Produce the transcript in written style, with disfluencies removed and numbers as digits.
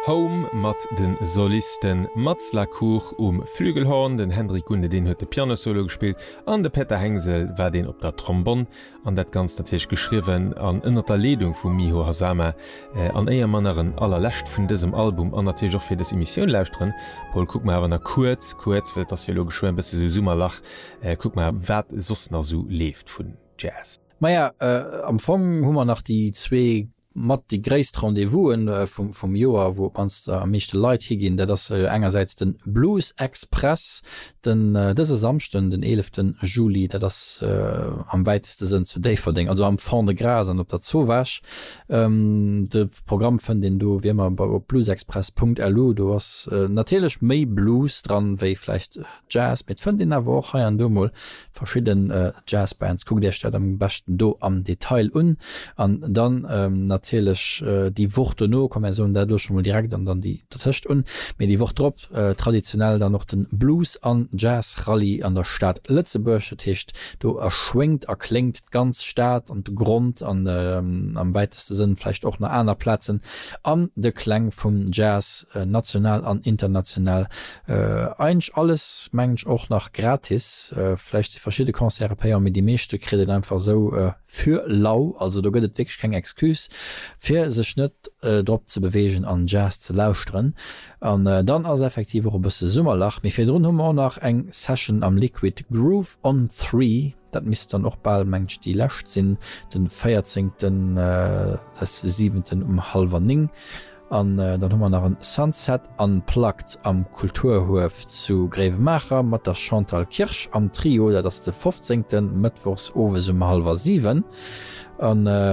Home mat de Solisten Mats la Cour um Flügelhorn, den Hendrik Gunde deen huet de Pianosolo gespillt an de Peter Hengsel war deen op der Trombonn. An dat Ganzt natierlech geschriwwen an ënnert der Leedung vum Miho Hazama. An éier mer nach en allerlescht vun dësem Album an natierlech och fir dës Emissioun lauschteren, Paul, kucke mer awer nach kuerz, kuerz, well et ass jo elo geschwë e bësse sou Summerlach, kucke mer wat soss nach sou leeft vun Jazz. Maja, am Fong hu mer nach déi zwee mat déi gréisst Rendez-vousen vum Joer, wou op d'mannst am meeschte Leit higinn. Dat ass engersäits de Blues Express, den dëse Samschden, den eelefte Juli. Dat ass am wäiteste Sënn zu Déifferdeng, also am Fond-de-Gras an op der Zowaasch. De Programm fënnt een do wéi ëmmer op bluesexpress.lu. Do ass natierlech méi Blues dran, wéi vläicht Jazz, mee et fënnt een awer och hei an do mol verschidden Jazzbands. Kuckt iech dat am beschten do am Detail un. An dann natierlech déi Woch dono, komm mär soen dat elo scho mol direkt an dann déi dertëscht un, mee déi Woch drop traditionell dann och den Blues an Jazz Rallye an der Stad Lëtzebuerg. Dat heescht do erschwéngt a kléngt d'ganz Stad an de Grond an am wäiteste Sënn vläicht och nach aner Plazen an de Kläng vum Jazz, national an international. Eigentlech alles mengen ech och nach gratis, vläicht si verschidde Concerte payant, mee déi meeschte kritt een einfach esou fir lau. Also do gëtt et wierklech keng Excuse fir sech net drop ze beweegen an Jazz ze lauschteren. An dann ass effektiv och e bësse Summerlach, mee virdrun hu mer och nach eng Session am Liquid Groove on 3, dat misst dann och bal mengen ech déi lescht sinn, den 14 des siwenten um hallwer 9. An dann hu mer nach en Sunset Unplugged am Kulturhuef zu Gréiwemaacher mat der Chantal Kirsch am Trio. Dat ass de 15. Mëttwochs owes um hallwer 7. An.